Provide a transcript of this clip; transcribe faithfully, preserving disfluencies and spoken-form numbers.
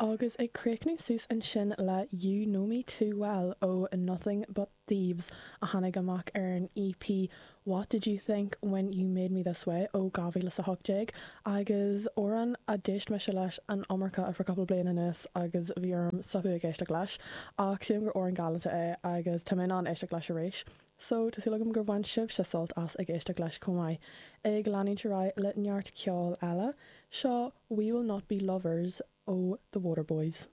Agus ag críochnú suas ansin le You Know Me Too Well ó Nothing But Thieves a tháinig amach ar an EP What Did You Think When You Made Me This Way ó dhá mhíle a hocht déag agus amhrán a d'éist mise leis an iomarca ar feadh cúpla bliain anuas agus bhí orm stopadh ag éisteacht leis ach sílim gur amhrán galánta é agus tá mé in ann éisteacht leis arís. So tá súil agam gur bhain sibhse sult as ag éisteacht leis chomh maith. Ag leanúint ar aghaidh le neart ceoil eile, seo We Will Not Be Lovers ó The Waterboys.